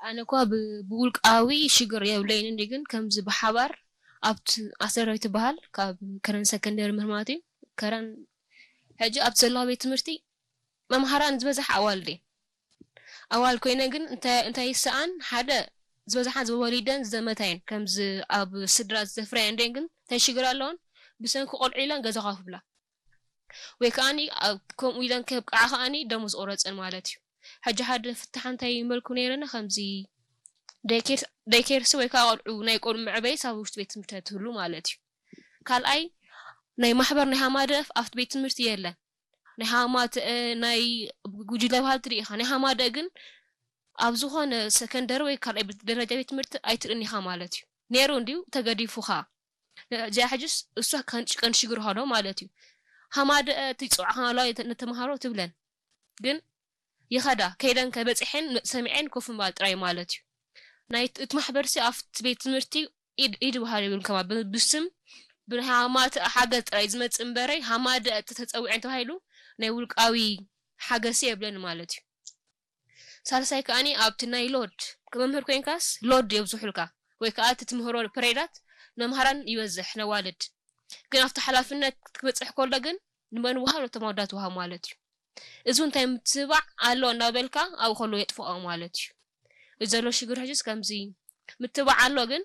ኣነ እኳ ብውልቃዊ ሽግር የብለይን እንዲ ግን ከምዚ ብሓባር ኣብቲ ኣሰራዊ ትበሃል ካብ ከረን ሰከንደሪ ምህርማት እዩ። ከረን ሕጂ ኣብቲ ዘለዋ ቤት ትምህርቲ መምሃራን ዝበዝሕ ኣዋልድ እየን። ኣዋል ኮይነ ግን እንታይ ይሰኣን ሓደ ዝበዝሓ ዝወሊደን ዝዘመታየን ከምዚ ኣብ ስድራ ዝዘፍረያ እንዲን ግን እንታይ ሽግር ኣለዎን ብሰንኪ ቆልዑ ኢለን ገዛ ከፍብላ ወይ ከዓኒ ከምኡ ኢለን ከብቅዓ ከዓኒ ደሞዝ ቆረፀን ማለት እዩ። ሕጂ ሓደ ፍታሕ እንታይ ይመልኩ ነይረና ከምዚ ደይኬርሲ ወይ ከዓ ቆልዑ ናይ ቆልዑ መዕበይስ ኣብ ውሽጢ ቤት ትምህርቲ ትህሉ ማለት እዩ። ካልኣይ ናይ ማሕበር ናይ ሃማደፍ ኣብቲ ቤት ትምህርቲ የለን። ናይ ሃማተ ናይ ጉጅለ ባህል ትርኢ ኢኻ። ናይ ሃማደ ግን ኣብ ዝኾነ ሰከንደሪ ወይ ካልኣይ ደረጃ ቤት ትምህርቲ ኣይትርእን ኢኻ ማለት እዩ። ነይሩ እንዲዩ ተገዲፉ ኸዓ እዚኣ ሕጅስ እሷ ቀንዲ ሽግር ኾኖ ማለት እዩ። ሃማደ እቲ ፅዋዕ ከማላዊ ነተምሃሮ ትብለን ግን ይኸዳ ከይደን ከበፂሐን ሰሚዐን ኮፍ ምባል ጥራይ ማለት እዩ። ናይ እቲ ማሕበርሲ ኣብቲ ቤት ትምህርቲ ኢድ ኢድ ባህል ይብሉ ከማ ብስም ብሃማት ሓገዝ ጥራይ ዝመፅእ እምበረይ ሃማደ ተፀዊዐን ተባሂሉ ናይ ውልቃዊ ሓገሲ የብለን ማለት እዩ። ሳልሳይ ከዓኒ ኣብቲ ናይ ሎድ መምህር ኮይንካስ ሎድ የብዝሑልካ ወይ ከዓ እቲ ትምህሮ ፕሬዳት መምሃራን ይበዝሕ ነዋልድ ግን ኣብቲ ሓላፍነት ክበፅሕ ከሎ ግን ንመን ውሃብ ነቶም ኣወዳት ውሃብ ማለት እዩ። እዚ እንታይ ምትባዕ ኣሎ እናበልካ ኣብኡ ከሎ የጥፍኦ ማለት እዩ። እዚ ዘሎ ሽግር ሕጅስ ከምዚ ምትባዕ ኣሎ ግን